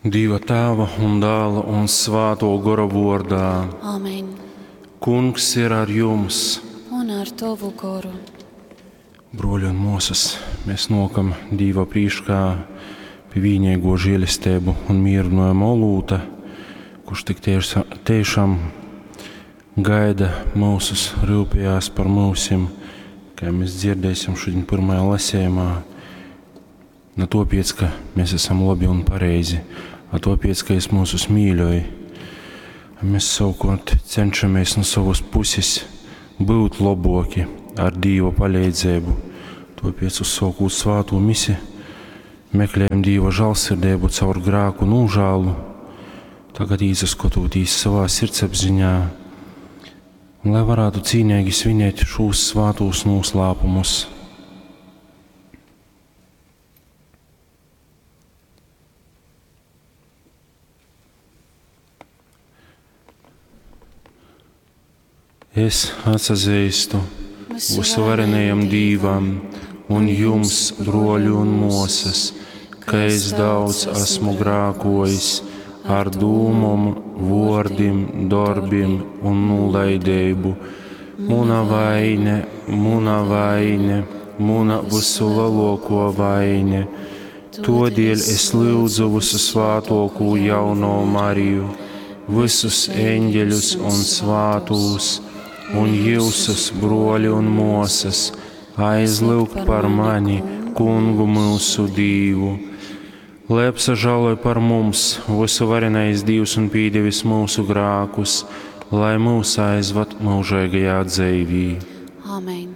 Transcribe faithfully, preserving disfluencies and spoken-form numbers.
Dīva Tāva un Dāla un Svātō Gora vōrdā. Amen. Kungs ir ar jums. Un ar tovu goru. Brōļi un mōsas, mēs nōkam Dīva prīškā pi vīneigo žēlesteibu un mīrynojuma olūta, kurš tik tieša, tiešām gaida mūsus, rūpējās par mūsim, kā mēs dzirdēsim šodien pirmajā lasējumā. Ne tāpēc, ka mēs esam labi un pareizi, a tāpēc, ka es mūsus mīļoju. Mēs savukārt cenšamies no savas puses būt laboki ar Dīva palīdzību. Tāpēc uzsākot svāto misi, meklējam Dīva žēlsirdību caur grēku nožēlu, tagad īsaskatoties savā sirdsapziņā, un lai varētu cīnīgi svinēt šos svātos noslēpumus. Es atsazīstu visvarenajam Dīvam un jums, broļi un mosas, ka es daudz esmu grākojis ar dūmom, vōrdim, darbim un nulaidību. Muna vaine, muna vaine, muna visulielāko vaine. Todēļ es lūdzu visu svātoko jauno Mariju, visus eņģeļus un svātūs, un jūsus, broļi un mosas, aizlūgt par mani, Kungu mūsu Dīvu. Lai apsažāloj par mums, visuvarenais Dīvs un pīdevis mūsu grākus, lai mūs aizvad mūžīgajā dzīvī. Amen.